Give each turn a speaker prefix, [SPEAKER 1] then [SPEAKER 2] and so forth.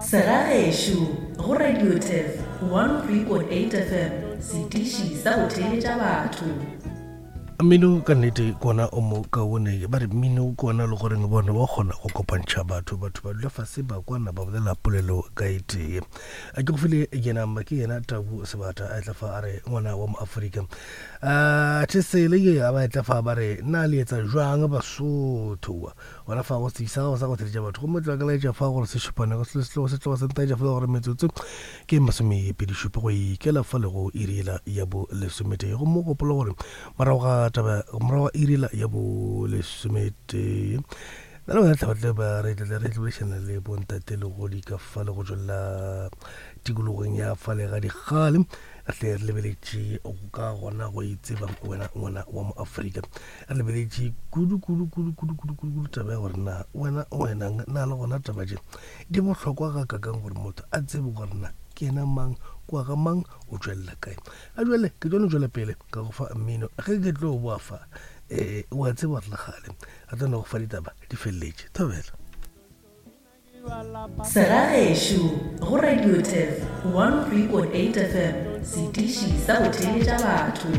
[SPEAKER 1] Segagešo go Radio Turf 103.8 FM, setiši sa go theeletša batho.
[SPEAKER 2] Mmino ka nnete kona o mo kaone ba re mmino kona le goreng bone wa kgona go kopantšha batho batho ba dula fase ba kwana ba bolela polelo ka e tee a ke go file yena mma ke yena tabu sebata a etla fa a re ngwana wa moaforika a thesele ye a ba etla fa ba re na le etsa jwang basotho Gona fa go setsebi sa gago sa go theletša batho gomme tloga ka laetša fa gore se šupane go selo setlogo se tloga se ntaetša fela gore metsotso ke masomepedišupa go ikela fa le go iri yela ya bo lesometee gomme gopola gore morago ga taba morago ga iri yela ya bo lesometee nna le wena tla tle ba re tle re tlebelešana le bontate le go di ka fa le go tšwelela tikologong ya fa le ga dikgale re tle re lebeletše ka gona go itseba wena ngwana wa mo Afrika Re lebeletše kudu kudu kudu kudu kudu kudu kudu taba ya gore na wena wena na le gona taba tše di bohlokwa ga kakang gore motho a tsebe gore na ke yena mang kwa ga mang o tšwelela kae a jale ke tlo no tšwela pele ka go fa mmino ge ke tlo boa fa um wa tseba gore le gale re tlo no go fa ditaba di feleletše thobela.
[SPEAKER 1] Segagešo go Radio Turf 103.8 FM, setiši sa go theeletša batho.